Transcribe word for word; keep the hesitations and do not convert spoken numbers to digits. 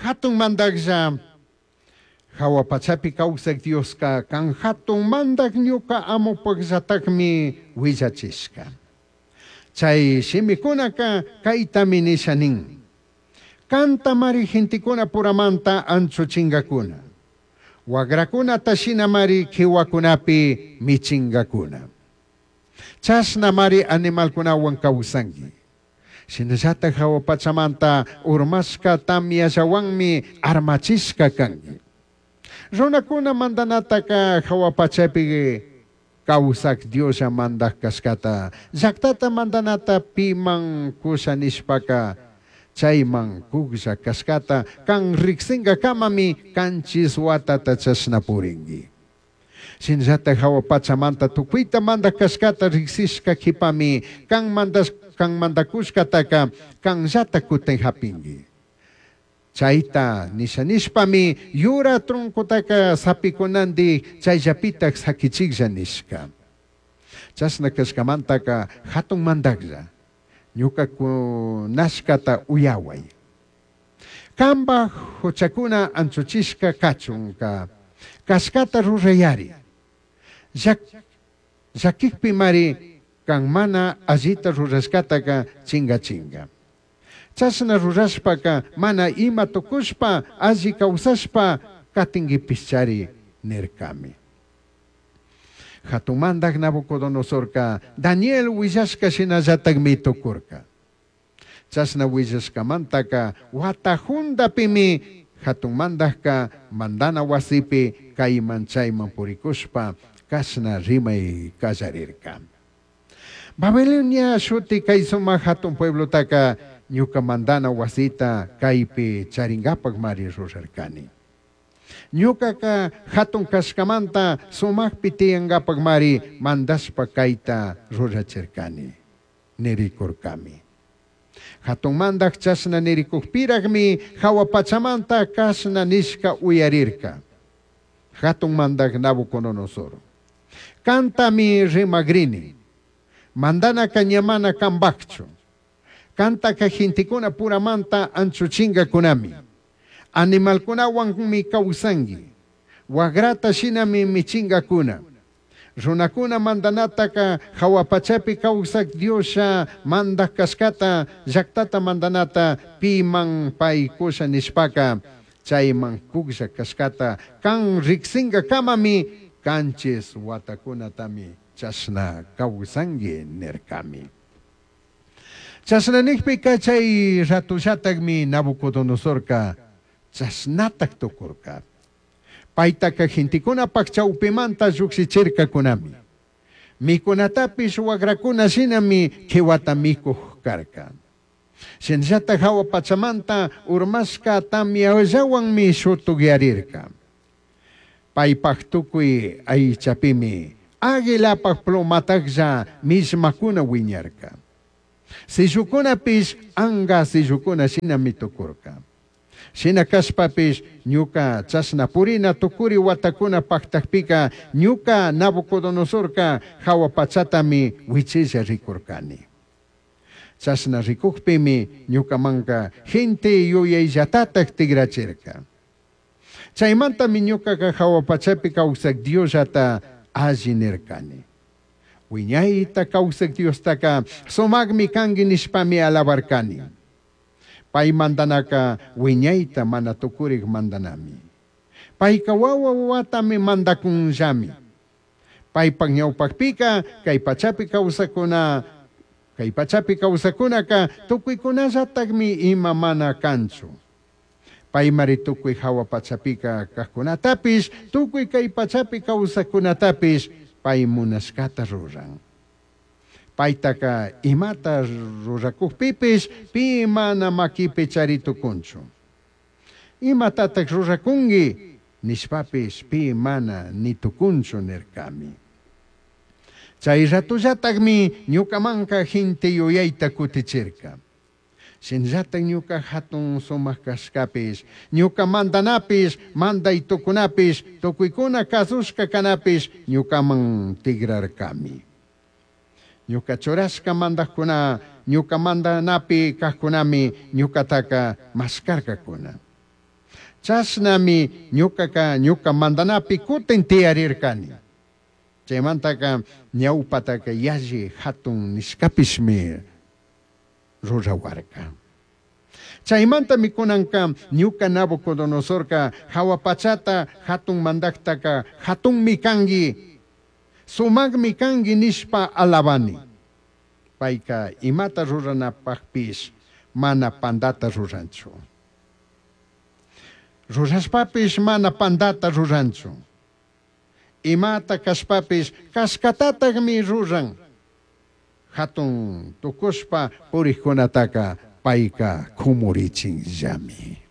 Jatun mandajlla, jahua pachapi causaj Diosca can jatun mandaj ñuca amopajllatajmi huillachishca. Chai shimicunaca caitami nisha nin. Cantamari gentecunapuramanta anchuchingacuna. Huagracunata shinamari quihuacunapi michingacuna. Chashnamari animalcunahuan causangui. Shinallataj jahua pachamanta urmashca tamyallahuanmi armachishca cangui. Runacuna mandanataca jahua pachapi causaj Dioslla mandaj cashcata, llajtata mandanata piman cusha nishpaca, chaiman cujlla cashcata can rijsingacamami canchis huatata chashna puringui. Shinallataj jahua pachamanta tucuita mandaj cashcata rijsishca q'uipami can mandash can mandacushcataca canllata cutin japingui. Chaita nisha nishpami yura troncotaca sapicunandi chayllapitaj saquichijlla nishca. Chashna cashcamantaca jatun mandajlla, ñuca cunashcata uyahuai. Cambaj juchacuna anchuchishca cachunca cashcata rurayari. Llaquijpimari can mana allita rurashcataca chingachinga. Chashna rurashpaca mana ima tucushpa alli causashpa catinguipishchari nircami. Jatun mandaj Nabucodonosorca Daniel huillashca shinallatajmi tucurca. Chashna huillashcamantaca huata jundapimi jatun mandajca mandana huasipi caiman chaiman puricushpa cashna rimai callarirca. Babilonia shuti cai sumaj jatun pueblotaca ñuca mandana huasita caipi charingapajmari rurarcani. Ñucaca jatun cashcamanta sumajpi tiyangapajmari mandashpa caita rurachircani, niricurcami. Jatun mandaj chashna niricujpirajmi jahua pachamanta cashna nishca uyarirca. Jatun mandaj Nabucodonosor. Cantami rimagrini. Mandanaca ña mana cambajchu. Cantaca gentecuna puramanta anchuchingacunami. Animalcunahuanmi causangui. Huagrata shinami michingacuna. Runacuna mandanataca jahua pachapi causaj Dioslla mandaj cashcata, llajtata mandanata piman pai cusha nishpaca, chaiman cujlla cashcata can rijsingacamami canchis huatacunatami chashna causangui nircami. Chashna nijpica chay ratollatajmi Nabucodonosorca chashnataj tucurca. Paitaca gentecunapaj chaupimanta llujshichircacunami. Micunatapish huagracuna shinami quihuata micuj carca. Shinallataj jahua pachamanta urmashca tamyallahuanmi shutucyarirca. Paipaj tucui aichapimi águilapaj plomatajlla millmacuna huiñarca. Sillucunapish anga sillucuna shinami tucurca. Shina cashpapish ñuca chashna purina tucuri huatacuna pajtajpica ñuca Nabucodonosorca jahua pachatami huichilla ricurcani. Chashna ricujpimi ñucamanca gente yuyaillatataj tigrachirca. Chaimantami ñucaca jahua pachapi causaj Diosllata alli nircani. Huiñaita causaj Diostaca sumajmi cangui nishpami alabarcani. Pai mandanaca huiñaita mana tucurij mandanami. Paica huahua huahuatami mandacunllami. Paipaj ñaupajpica cai pachapi causacuna, cai pachapi causacunaca tucuicunallatajmi ima mana canchu. Paimari tucui jahua pachapica cajcunatapish, tucui cai pachapi causacunatapish pai munashcata ruran. Paitaca imata ruracujpipish pi mana maquipi chari tucunchu. Imatataj ruracungui nishpapish pi mana ni tucunchu nircami. Chay ratollatajmi ñucamanca gente yuyaita cutichirca. Shinallataj ñuca jatun sumaj cashcapish, ñuca mandanapish, mandai tucunapish, tucuicuna cazushca canapish ñucaman tigrarcami. Ñuca churashca mandajcuna, ñuca mandanapi cajcunami ñucataca mashcarcacuna. Chashnami ñucaca ñuca mandanapi cutin tiyarircani. Chaymantaka ñawpataka yalli hatun nishkapishmi rurawarka. Chaymantami kunanka ñuka Nabucodonosorka jahua pachata hatun mandaktaka hatunmi kanki, sumakmi kanki nishpa alabani. Payka imata ruranapakpish mana pandata ruranchu. Rurashpapish mana pandata ruranchu. Imata kashpapish kashkatatakmi ruran. Hatun tukushpa purikkunataka payka kumurichinllami.